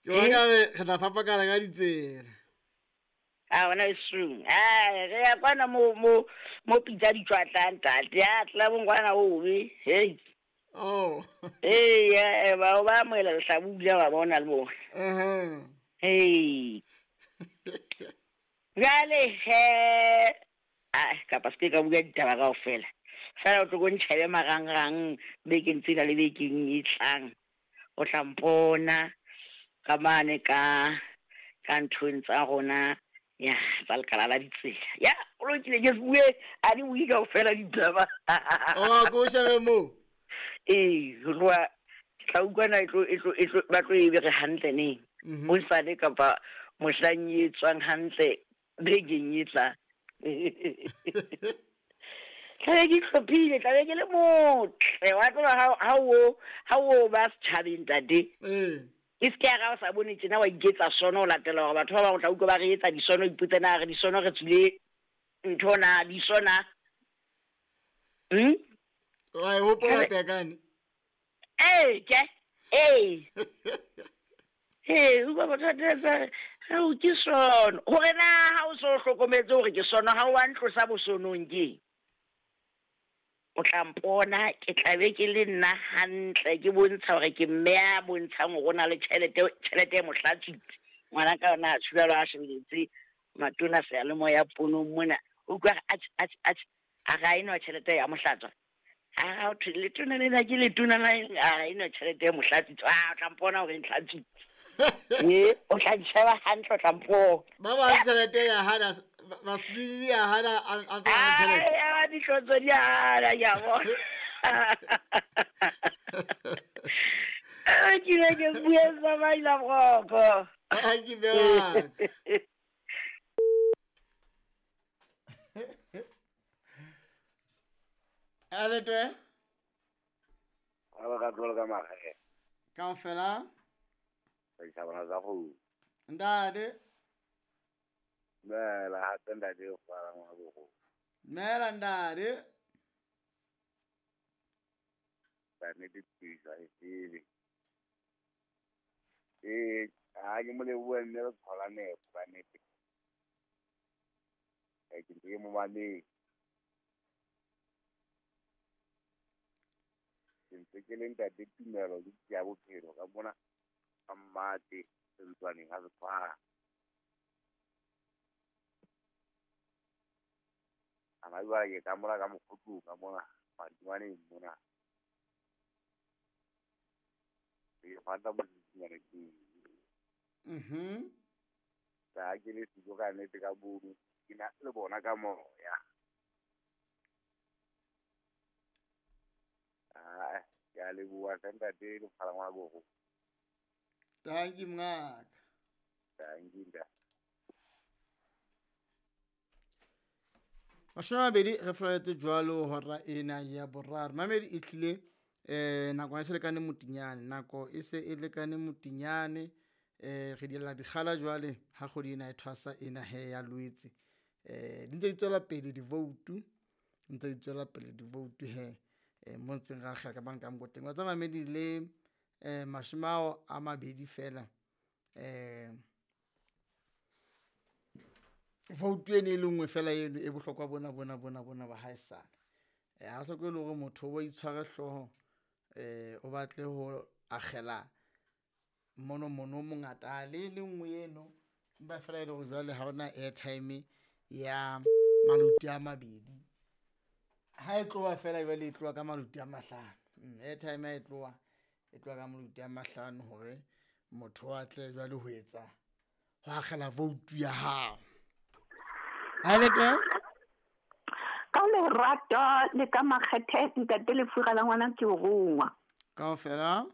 Ke bona ka re re tla fapakana ka ditsela. A ona e sung. A re ya kwana mo mo mo pitsa di tswatlang ntate. Ya tla bongwana o be. Hey. Oh. Hey, ya ba ba amohela lehlabula ba bona le bona. Eh. Hey. Jwale he a kapa se ka bua ditaba kaofela. Fela o tlo ko ntjhebe marangrang bekeng tsena le bekeng e tlang. O tla mpona ka mane ka ka nthong tsa rona ya tsa lekala la ditsela. Ya, o lokile ke se bue a di bue kaofela ditaba. Oh, ko shebe mo. Ee, ho tloha ke tla utlwa na e tlo e tlo e tlo ba tlo e bere hantle neng. Hosane kapa mohlang e tswang hantle bekeng e tlang. Tlabe ke hlophile, tlabe ke le motle. Wa tseba ha o ba setjhabeng ntate. Ee. E se ke ya ra o sa bone tjena wa iketsa sono o latela hore batho ba bang o tla utlwa ba re etsa disono, ipotse na re disono re tswile ntho na disona. Wa e hopola pekane? Ee, ke. Ee. Ee, utlwa batho ba tla re, hao ke sono. Hore na ha o so hlokometse hore ke sono, ha o wa ntlosa bosonong ke. O tla mpona ke tla be ke le nna hantle ke bontsha hore ke mme ya bontshang hore o na le tjhelete, tjhelete e mo hlatswitse. Ngwana ka yona a tshulalo a shebeletse matona seyalemoya ponong mona. O utlwa a re, atjhe, atjhe, atjhe, a re ha eno tjhelete ya mo hlatswa. A re, ha thwe letona lena ke letona la eng? A re ha eno tjhelete e mo hlatswitse. A o tla mpona hore e ntlhatswitse. Ee, o tla ntjheba hantle, o tla mpona. Ba bang tjhelete ya hana, ba se ya hana, a tsa tjhelete. Ai, a ditlotso di hana, ke a bona. Ke ile ke bue sa baila broko. Thank you very much. Aletwe? Ba ka tlola ka magae. Kaofela? Ba isa bana tsa go. Ntate. Mela hape ntate o fara ngwana bogo. Mela ntate. Ba ne di pisa e tsebe. Eh, ha ke mo lebohe mme re thola nepo ba nete. Eh, ke ntse ke mo mametse. Ke ntse ke le ntate Tumelo ke ya bophelo ka mona ka mmate sentswaneng ha se tshwana. Ana jwale ke ka mona ka mokgotlong ka mona madimaneng mona. Ke fata motsinyana ke. Ka ke le siko ka nnete ka bono ke na le bona ka moya. Ah, ke a leboha hle ntate le phalangwa gogo. Thank you mngaka. Thank you ntate. 20 re felletse jwalo hora ena ya boraro. Mamedi e tlile nako e se lekane motinyane, nako e se e lekane motinyane, re diela dikgala jwale ha kgwedi ena e thwasa ena he ya Loetse. Di ntse di tswela pele di-vote, ntse di tswela pele di-vote he. Mo ntseng ra akgela ka banka mokoteng. Wa tsa mamedi le 20 fela. Vote ene e le nngwe fela eno e bohlokwa bona bona bona bona ba haesale. Ha hloke le hore motho o itshware hlooho, o batle ho akgela mono mono mongata le le nngwe eno. Empa fela e le hore jwale ha hona airtime ya maluti a mabedi. Ha e tloha fela jwale e tloha ka maluti a mahlano. Airtime ha e tloha, e tloha ka maluti a mahlano hore motho a tle jwale ho etsa ho akgela vote ya hao. Ha le teng? Ka lerato le ka makgethe ntate Lefura la ngwana ke o rongwa. Kaofela?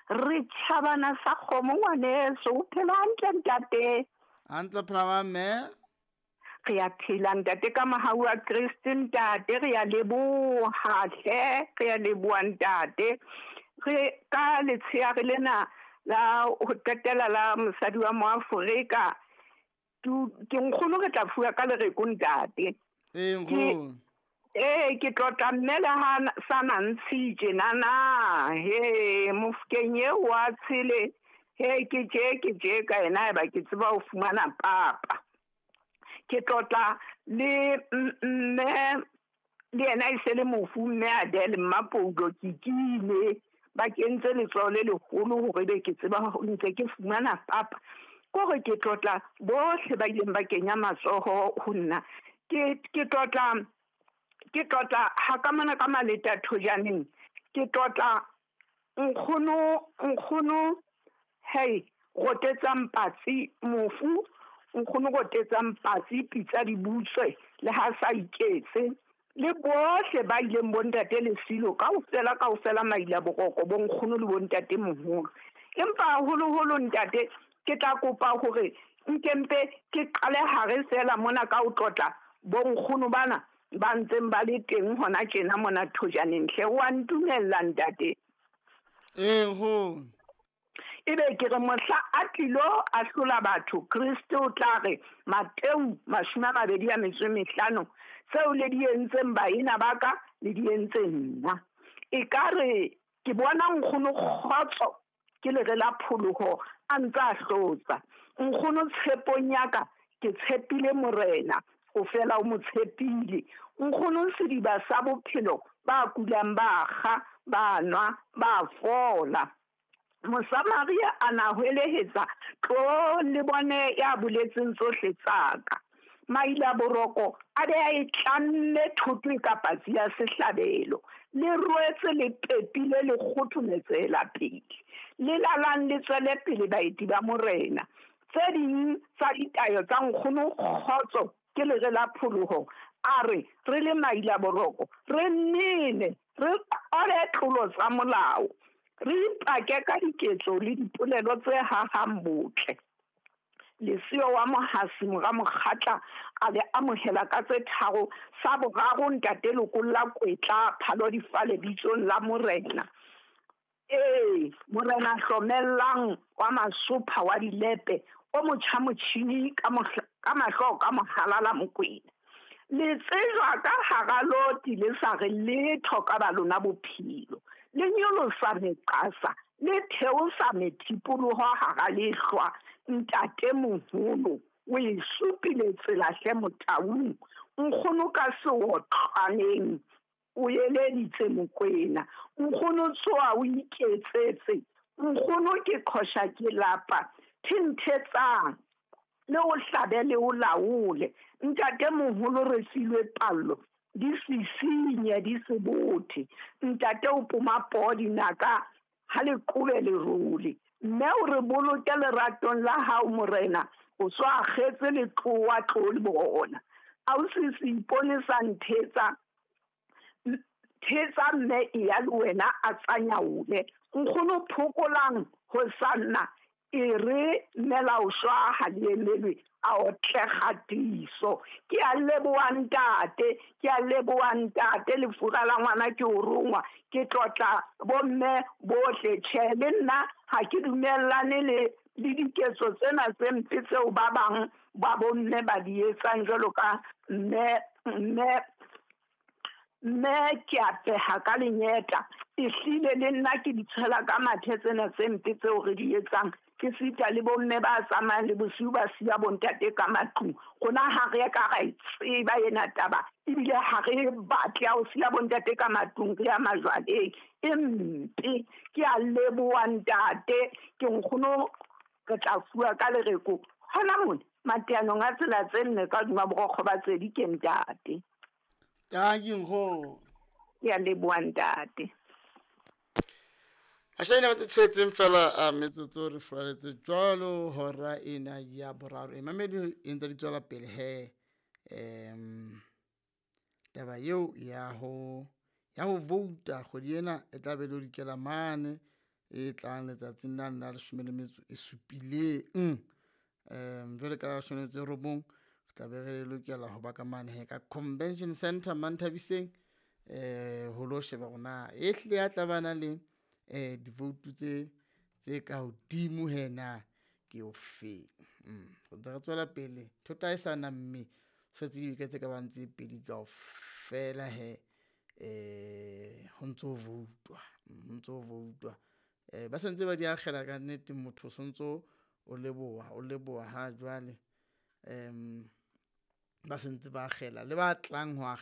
Re tjhabana sa kgomo ngwaneso, o phela hantle ntate. Hantle phela wa mme? Re a phela ntate ka mohau wa Kreste ntate, re a leboha hle, re a leboha ntate. Re ka letsheare lena la ho qetela la mosadi wa Moafrika, ke nkgono re tla fuwa ka lereko ntate. Ee, nkgono. Ee, ke tlotla mme le ha sa na ntshitje nana. He, mofokeng eo wa tshele. He ke tje ka yena eba ke tseba ho fumana papa. Ke tlotla le mme le yena e se le mofu mme Adele Mmapoulo Kikile ba kentse letsoho le leholo hore be ke tseba ntse ke fumana papa. Kore ke tlotla bohle ba ileng ba kenya matsoho ho nna. Ke tlotla ha ka mona ka Maleta Thojaneng. Ke tlotla nkgono hey rotetsang patsi mofu nkgono rotetsang patsi pitsa di butswe le ha sa iketse le bohle ba ileng bontate Lesilo kaofela maila boroko bo nkgono le bontate moholo. Empa haholoholo ntate ke tla kopa hore nkempe ke qale hare fela mona ka o tlotla bo nkgono bana ba ntseng ba le teng hona tjena mona Thojaneng hle wa ntumella ntate. Ee nkgono. Ebe ke re mohla a tlilo a hlola batho Kriste o tla re Mateu 25 tseo le di entseng baena ba ka le di entse nna. E ka re ke bona nkgono kgotso ke lere la pholoho a ntse a hlotsa. Nkgono tshepong ya ka ke tshepile Morena o fela o mo tshepile. Nkgono sediba sa bophelo ba kulang ba kga ba nwa ba fola. Mosamaria a na hwelehetsa tlo le bone ya boletseng tsohle tsaka. Maila boroko a be a e tlamme thoto e ka patsi ya sehlabelo. Le rwetse le pepile le kgothometsela pele. Le lalang le tswele pele baeti ba Morena. Tse ding tsa ditayo tsa nkgono kgotso ke lere la pholoho. A re re le maila boroko re nene re qole tlolo tsa molao. Re ipake ka diketso le dipolelo tse hahang botle. Lesio wa Mohasi mora Mokgatla a le amohela ka tse tharo sa boraro ntate lokolla kwetla phalo difale bitsong la Morena. Ee, Morena hlomellang wa masopha wa dilepe o motjha motjhini ka mahlo ka mohala la Mokwena. Le tsejwa ka hara loti le sa re letho ka ba lona bophelo. Le nyolosa meqasa le theosa methipoloho hara lehlwa. Ntate moholo o e supile tsela hle motaung. Nkgono ka seotlwaneng o eleditse Mokwena. Nkgono tsoa o iketsetse. Nkgono ke qhosha ke lapa. Thinthetsang le o hlabe le o laole. Ntate moholo re filwe pallo di sisinye di se bothe. Ntate o poma poo dinaka ha le qobe lerole. Mme o re boloke leratong la hao Morena o so akgetse letlowa tlo le bona. Ausi se ipone sa nthetsa thetsa mme e ya le wena a tsanyaole. Nkgono phokolang ho sanna e re melao shwa ha le emelwe a otle kgatiso. Ke a leboha ntate, ke a leboha ntate lefura la ngwana ke o rongwa. Ke tlotla bomme bohle. Tjhe le nna ha ke dumellane le diketso tsena tse mpe tseo ba bang ba bomme ba di etsang jwalo ka mme ke a peha ka lenyeta. Ehlile le nna ke di tshela ka mathe tsena tse mpe tseo re di etsang. Ke sita le bomme ba tsamayang le bosiu ba siya bontate ka matlung. Rona ha re ka ra e tseba ena taba ebile ha re batle ho siya bontate ka matlung re ya majwaleng. E mpe. Ke a leboha ntate. Ke nkgono re tla fuwa ka lereko hona mona mateanong a tsela tse nne ka hodima borokgo ba tsedi ke ntate. Tanki nkgono. Ke a leboha ntate. Ashane ba tshetseng fela a metsotso re furaletse jwalo hora ena ya boraro. E mamedi e ntse di tswela pele he. Taba eo ya ho vouta kgwedi ena e tla be le dikela mane e tlang letsatsing la 17. Jwale ka 19 re tla be re lokela ho ba ka mane he ka Convention Center Manthabiseng ho lo sheba rona e hlile ya tla bana le divoutu tse ka hodimo hena ke o feng. Re tswela pele thota e sa na mme setse dibeke tse ka bang tse pedi kaofela he ho ntso voutwa, ho ntso voutwa. Ba sentse ba di akgela ka nnete, motho o sontso o leboha, o leboha ha jwale. Ba sentse ba akgela le ba tlang ho akgela.